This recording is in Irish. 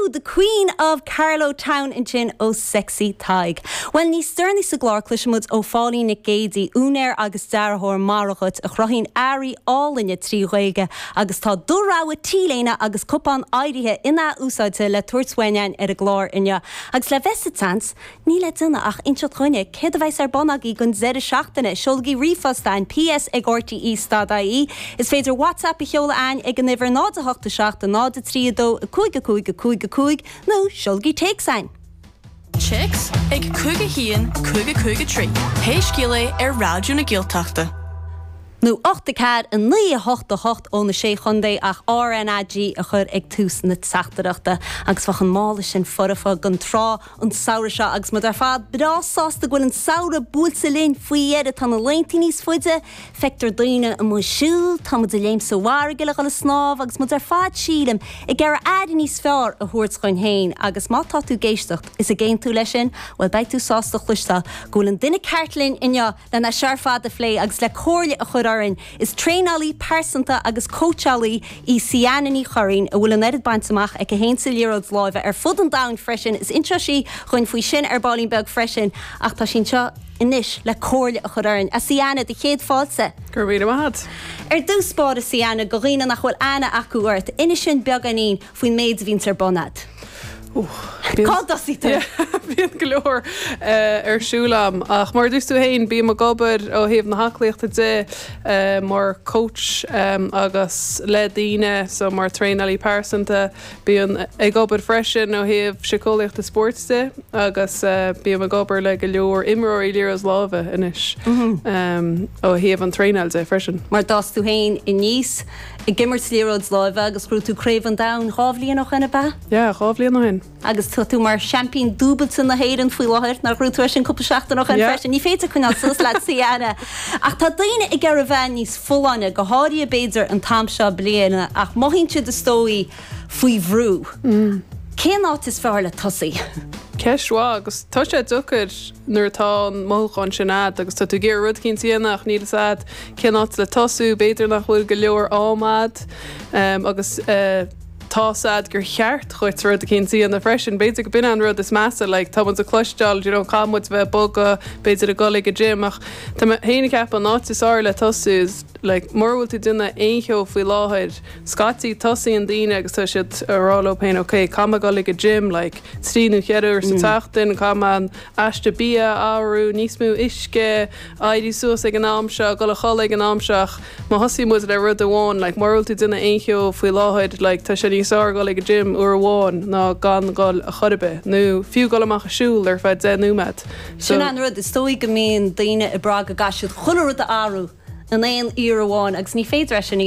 The Queen of Carlow Town ansin ó Sexy Tadhg. Bhuel, níos deireanaí sa gclár cloisfidh muid ó Phauline Nic Géidigh, úinéir agus dearthóir Maire Dhuit, a chruthaíonn earraí álainne 3 Ghaeilge agus tá do rogha t-léine agus cupán áirithe in-athúsáidte le tabhairt uainn ar an gclár inniu. Agus le bheith sa tseans, Níl le déanamh ach inseacht dhúinne céard a bheas ar bun agaibh don deireadh seachtaine. Seolaigí ríomhphost a'ainn, ps ag rte stad ie. Is féidir WhatsApp a sheoladh a'ainn ag an uimhir 0 8 7 0 3 2 5 5 5 5 nó seolaigí téacs a'ainn. Téacs ag 5 1 5 5 3, pé scéal é ar Raidió na Gaeltachta. Nó 8 4 9 8 8 ó na Sé Chontae ach RnaG a chur ag tús na teachtaireachta. Agus bheadh an mála sin foirfe don trá an samhradh seo agus muid ar fad breá sásta go bhfuil an samhradh buailte linn faoi dheireadh. Tá na laethanta níos faide, feictear daoine amuigh ag siúl, tá muid ag léim sa bhfarraige le dhul ag snámh agus muid ar fad, sílim, ag iarraidh aire níos fearr a thabhairt dhuinn féin agus má tá tú ag éisteacht is ag aontú leis sin, bhuel beidh tú sásta a chloisteáil go bhfuil an duine ceart linn inniu len é seo ar fad a phlé agus le comhairle a chur orainn. Is traenálaí pearsanta agus cóitseálaí í Siana Ní Churraoin a bhfuil an oiread bainte amach aici féin sa liathróid láimhe ar fud an domhain freisin. Is inseoidh sí dhuinn faoi sin ar baillín beag freisin ach tá sí anseo anois le comhairle a chur orainn. A Siana, do chéad fáilte. Go raibh míle maith agat. Ar dtús báire, Siana, do dhaoine nach bhfuil aithne acu ort, inis dúinn beagáinín faoin méid a bhíonns ar bun a'd. Cá dtosaíonn tú? Bíonn go leor ar siúl a'm ach mar a dúirt tú féin, bím ag obair ó thaobh na haclaíochta de mar coach agus le daoine, so mar traenálaí pearsanta. Bím ag obair freisin ó thaobh síceolaíochta spóirt de agus bím ag obair le go leor imreoirí liathróid láimhe anois ó thaobh an traenáil de freisin. Mar d'fhás tú féin aníos ag imirt liathróid láimhe agus ghnóthaigh tú Craobh an Domhain 2 bhliain ó shin, ab ea? Yeah, 2 bhliain ó shin. Agus tá tú mar seaimpín dúbailte na hÉireann faoi láthair, nár ghnóthaigh tú é sin cúpla seachtain ó shin freisin? Ní féidir coinneáil suas leat, Siana. Ach tá daoine ag iarraidh a bheith níos folláine, go háirithe b'fhéidir an t-am seo bliana, ach mothaíonn siad is dóigh faoi bhrú. Cén áit is fearr le tosaí? Ceist mhaith agus tá sé deacair nuair atá an mothúchán sin a'd agus tá tú ag iarraidh rud eicínt a dhéanamh ach níl fhios a'd cén áit le tosú, b'fhéidir nach bhfuil go leor am a'd agus tá's a'd gur cheart dhuit rud eicínt a dhéanamh freisin. B'fhéidir go b'in an rud is measa, like tá muid ag cloisteáil you know caithfidh muid bheith ag bogadh, b'fhéidir ag dul ag an gym ach tá mé féin ag ceapadh an áit is fearr le tosú is like mura bhfuil tú ag déanamh aon cheo faoi láthair, scaití tosaíonn daoine agus tá siad ag rá leo féin ok caithfidh mé dul ag an gym like trí nó cheithre uair sa tseachtain, caithfidh mé an aiste bia a athrú, níos mó uisce, éirí suas ag an am seo, dul a chodladh ag an am seo ach má thosaíonn muid le rud amháin like mura bhfuil tú ag déanamh aon cheo faoi láthair like tá sé níos fearr dul ag an gym uair amháin ná gan dul a chor ar bith nó fiú dul amach ag siúl ar feadh 10 nóiméad. So. Sin an rud, is dóigh go mbíonn daoine ag brath go gcaithfidh siad chuile rud a athrú in aon iarraidh amháin agus ní féidir é sin a dhéanamh.